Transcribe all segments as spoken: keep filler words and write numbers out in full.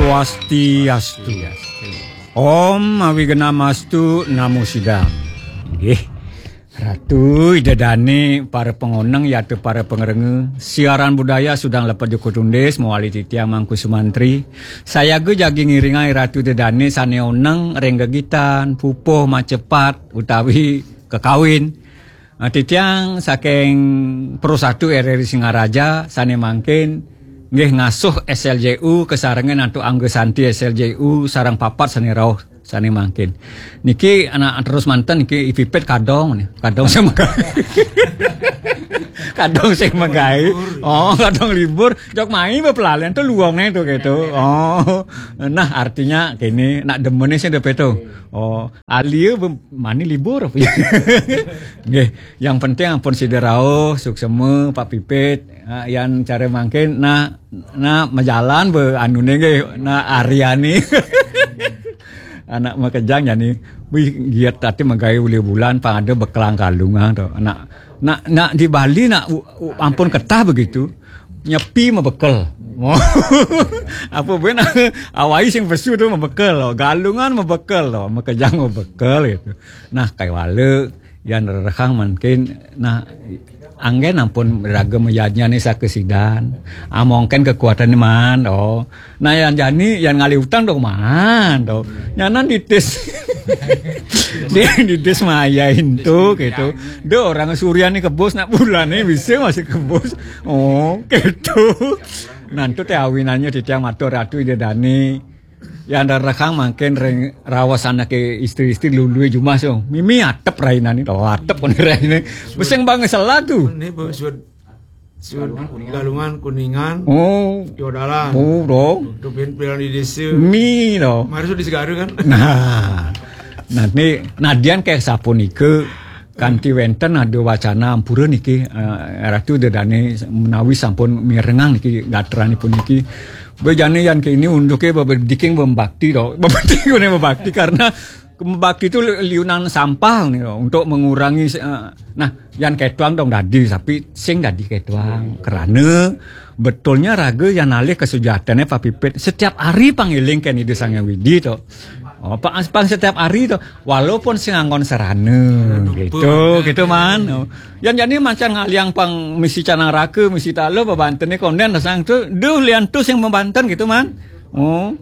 Swastiastu. Om Awignamastu Namo Sidam. Nggih. Ratu Ida Dane, para pangoneng yata para pangrengga. Siaran budaya Sudang Lepet Joko Tundis, mawali titiang Mangku Sumantri. Sayaga jagi ngiringang Ratu Ida Dane sane oneng ring gegitan, pupuh macepat utawi kekawin. Ah, titiang saking Pro Satu R R I Singaraja sane mangkin nggih ngasuh S L J U kasarengan antuk Angga Santi S L J U sareng papat sane rauh sane mangkin. Niki anak terus manten niki I Pipit kadong nih. Kadong sing megai. Kadong sing megai. Oh, kadong libur. Jok mai bepelalian tuh luongne tuh gitu. Oh. Nah, artinya kene nak demene sing depe tuh. Oh, alia be-, mani libur. Nggih, yang penting ampun sida rauh, suksema, Pak Pipit. Ah, yan cara mangkin, nah, nah, majalan be anune nggih, nah, Aryani. Anak makejang jani. Wih, giat tati magawe uli bulan, pang ada bekelang kalungan to. Nak, nak, nak di Bali nak u-, u-, ampun ketah begitu. Nyepi mabekel. Apa ben awai sing pesu tu mabekel to. Galungan mabekel to, makejang mabekel gitu. Nah, kaiwala yan rerehang mangkin, nah, anggen ampun raga mayadnyane saka sidan. Ah, mongken kekuatane man to. Nah, yan jani, yan ngalih utang dong man to. Nyanan ditis. Dia ditis mayain to gitu. Do orang suryane kebus nak bulane bisa masih kebus. Oh, gitu. Nah, itu teh awinannya titiang matur Ratu Ida Dane. Yan rerehang mangkin ring raos anake istri-istri lului jumah so. Mimi atep rainane to, atep kone raine. Beseng banget salah tu. Ini bawa suud, suud Galungan, Kuningan, Oh. Yodalan. Oh, dong. Tupin pilan di desa. Mi to. Mari suud di Segara kan? Nah. Nah, ni nadian kayak sapunika kanti wenten ada wacana ampura niki, eh, Ratu Ida Dane menawi sampun mirengang niki gatranipun niki. Bejane yan kene unduke bebediking bembakti to. Bebediking bembakti karena bembakti itu liunan sampah nih to, untuk mengurangi, eh, nah, yan ketuang dong dadi, tapi sing dadi ketuang. Karena betulnya raga yan alih kesujatane Pak Pipit. Setiap hari pangiling ken Ida Sang Hyang Widi to. Oh, pang, pang setiap hari to. Walaupun sing anggon sarana gitu, gitu man. Oh. Yan jani macan ngaliang pang misi canang raka, misi tala, babantene konden sang tu, duh lian tu sing mabanten gitu man. Oh.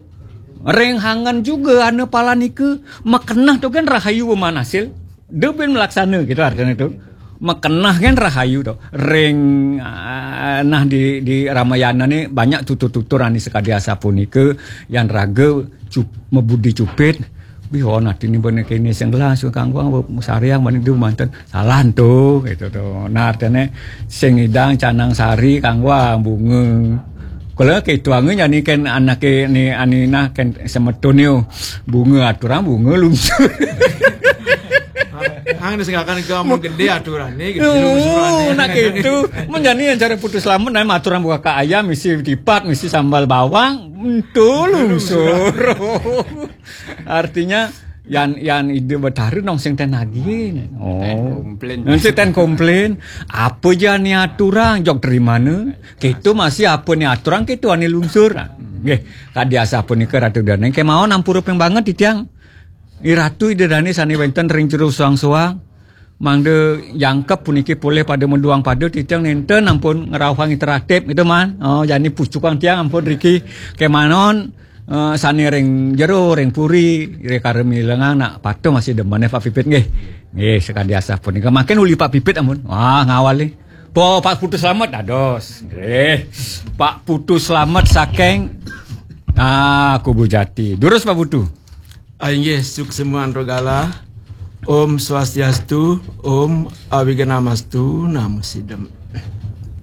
Ring hangan juga ana palanika, makenah tu kan rahayu manasil. Duh bin melaksana gitu artinya tu. Makenah kan rahayu tu. Ring, ah, nah di, di Ramayana ni banyak tutur-tutur ani sekadi asapunika yan raga cup-, mabudi cupit. Bih, oh, nati ni bene kene sing gelas kangguang sariang bene du manten. Salah tu gitu tu. Nah, artine sing idang canang sari kangguang bunga. Kala ketuange nyani ken anake ni anina ken semetun yo. Bunga aturang bunga lungsur. Hang disenggakan ke amun gede aturane gitu. Oh, lungsurane. Nah gitu. Mun jani yang cara putus lamun nah aturan buah ka ayam misi tipat misi sambal bawang. Entu lungsur. Artinya yan, yan Ida Betara nong sing ten agihin. Oh. Ten komplain. Nong sing ten komplain. Apa jani aturan jog terimana? Kita masih apa ni aturan kita ani lungsur. Nggih, kadi asapunika Ratu Dane kemawon ampura ping banget titiang. Iratu Ida Dane sane wenten ring jero suang-suang. Mangda jangkep puniki polih pada meduang pada titiang nenten ampun ngrauhang interaktif gitu man. Oh, jani pucukang tiang ampun riki kemanon, eh, sane ring jero, ring puri, ring karemi lengang nak patuh masih demen Pak Pipit nggih. Nggih, sekadi asah punika. Makin uli Pak Pipit ampun. Wah, ngawali. Po Pak Putu Slamet dados. Nggih. Pak Putu Slamet saking, ah, Kubu Jati. Durus Pak Putu. Ah, inggih, suksema antaragala. Om Swastiastu, Om Awignamastu, Namo Sidam.